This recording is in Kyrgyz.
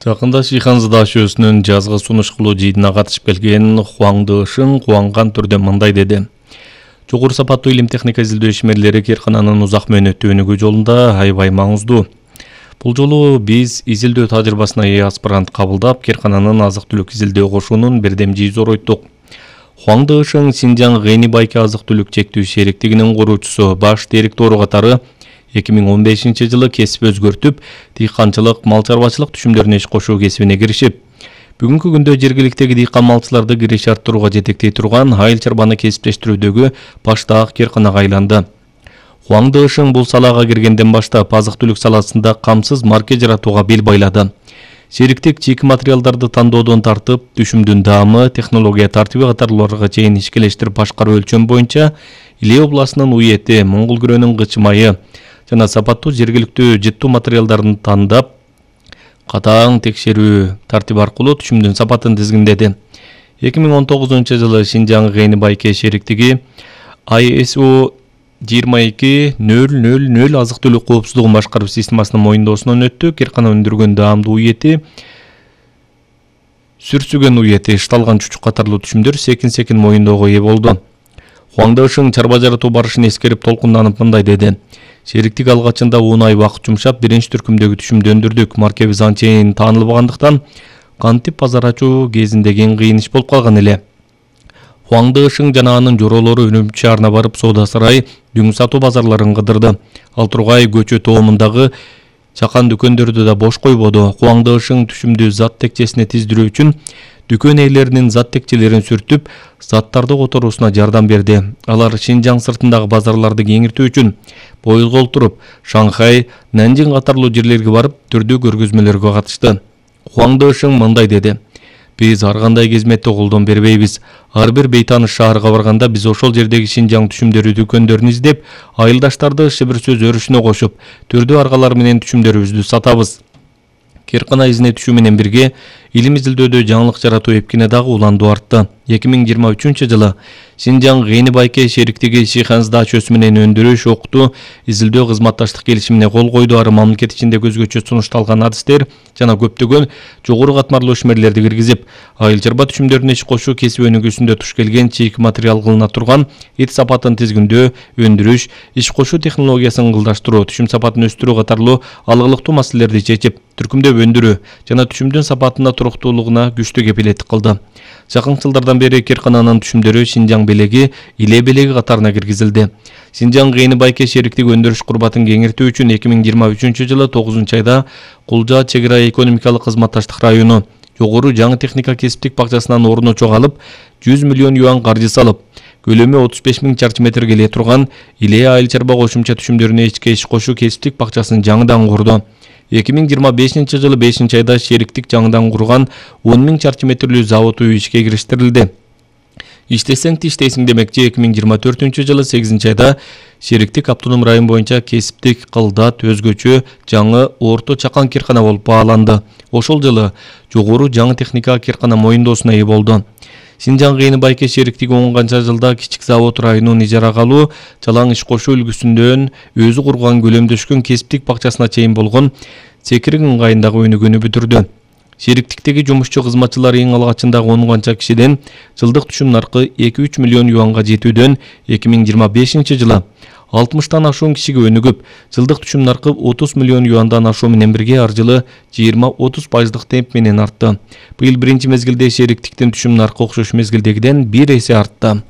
Жакында Шихан даашөсүнүн жазгы сунуш кылуу жыйынына катышып келген Хуаң Дышың кубанган түрдө мындай деди. Жогору сапаттуу илим техника изилдөө ишмерлери кээркананын узак мөөнөттүү өнүгүү жолунда аябай маңыздуу. Бул жолу биз изилдөө тажрыйбасына ээ аспирант кабылдап, кээркананын азык-түлүк изилдөө кошуунун бирдемжи зоройтук. Хуаң Дышың Синжаң Гэни Байке азык-түлүк чектүү шериктигинин куруучусу, баш директору катары 2015 жылы кесип өзгөртүп, дыйканчылык, мал чарбачылык түшүмдөрүнө иш кошуу кесибине киришип, бүгүнкү күндө жергиликтеги дыйкан малчыларды кириш арттырууга жетектей турган айыл чарбаны кесиптештирүүдөгү баштаак кээрканага айланды. Хуаң Дышың бул салага киргенден баштап азык-түлүк саласында камсыз марке жаратууга бел байлады. Шериктик чийки материалдарды тандоодон тартып, түшүмдүн даамы, технология тартиби катарларга чейин ишкелештирип башкаруу өлчөм боюнча Иле областынын уети, Моңгол күрөөнүн кычы майы жана сапаттуу жергиликтүү жыттуу материалдарын тандап, катаң текшерүү тартиби аркылуу түшүмдүн сапатын тизгиндеди. 2019 жылы Синжаң Гэни Байке шериктиги ISO 22.000 азык-түлүк коопсуздугун башкаруу системасынын моюндоосунан өттү. Кээркана өндүргөн даамдуу уети, сүрсүгөн уети, ышталган чучук катарлуу түшүмдөр секин моюндоого ээ болду. Хуаң Дышың чарба жаратуу барышын эскерип толкунданып мындай деди. Шериктик алгачында 10 ай убакыт жумшап, биринчи түркүмдөгү түшүмдү өндүрдүк. Маркебиз анчейин таанылбагандыктан кантип базар ачуу кезиндеги кыйын иш болуп калган эле. Хуаң Дышың жана анын жоролору Үрүмчү шаарына барып, соода сарай, дүң сатуу базарларын кыдырды. Ал Тургай көчө тоомундагы чакан дүкөндөрдү да бош койбоду. Хуаң Дышың түшүмдү зат текчесине тиздирүү үчүн дүкөн ээлеринин зат текчелерин сүртүп, заттарды которуусуна жардам берди. Алар Шинжаң сыртындагы базарларды кеңиртүү үчүн поездго олтуруп, Шанхай, Нанжин катарлуу жерлерге барып, түрдүү көргөзмөлөргө катышты. Хуаң Дышың мындай деди. Биз ар кандай кезметте колдон бербейбиз. Ар бир бейтаныш шаарга барганда биз ошол жердеги Шинжаң түшүмдөрү дүкөндөрүн издеп, айылдаштарды шыбыр сөз өрүшүнө кошуп, түрдүү аргалар менен түшүмдөрүбүздү сатабыз. Кээркана изине түшүү менен бирге илим изилдөөдө жаңылык жаратуу эпкине дагы уландуу артты. 2023 жылы Синжаң Гэни Байке шериктиги Шихан даашөсү менен өндүрүш, окутуу, изилдөө кызматташтык келишимине кол койду. Ары мамлекет ичинде көзгөчө сунушталган адистер жана көптөгөн жогору катмарлуу ишмерлерди киргизип, айыл чарба түшүмдөрүнө иш кошуу кесип өнүгүүсүндө туш келген чийки материал кылына турган эт сапатын тизгиндөө, өндүрүш, иш кошуу технологиясын ылдаштыруу, түшүм сапатын өстүрүү катарлуу алгылыктуу маселелерди чечип, түркүмдөп өндүрүү жана түшүмдүн сапатына туруктуулугуна күчтүү кепилеттик кылды. Жакын жылдардан бери кээркананын түшүмдөрү Шинжаң белеги, Иле белеги катарына киргизилди. Синжаң Гэни Байке шериктиги өндүрүш курбатын кеңиртүү үчүн 2023 жылы 9 айда Кулжа чек ара экономикалык кызматташтык району жогору жаңы техника кесиптик бакчасынан орун очок алып, 100 миллион юан каржы салып, көлөмү 35 000 чарчы метр келе турган Иле айыл чарба кошумча түшүмдөрүнө иш кошуу кесиптик бакчасын жаңыдан курду. 2025 жылы 5 айда шериктик жаңыдан курган 10 000 чарчы метрлүү завод үй ишке кириштирилди. Иштесең тиштейсиң демекчи 2024 жылы 8 айда шериктик автоном район боюнча кесиптик кылдат өзгөчө жаңы орто чакан кээркана болуп бааланды. Ошол жылы жогору жаңы техника кээркана моюндоосуна ээ болду. Синжаң Гэни Байке шериктиги 10 канча жылда кичик завод районун ижарага алуу, чалаң иш кошуу үлгүсүндөн өзү курган көлөмдөшкөн кесиптик бакчасына чейин болгон цекирин ыңгайындагы өнүгүүнү бүтүрдү. Шериктиктеги жумушчу кызматчылар эң алгачындагы 10 канча кишиден жылдык түшүм наркы 2-3 миллион юанга жетүүдөн 2025 жылы 60тан ашуун кишиге өнүгүп, жылдык түшүм наркы 30 миллион юандан ашуу менен бирге ар жылы 20-30% темп менен артты. Быйыл биринчи мезгилде шериктиктин түшүм наркы окшош мезгилдегиден 1 эсе артты.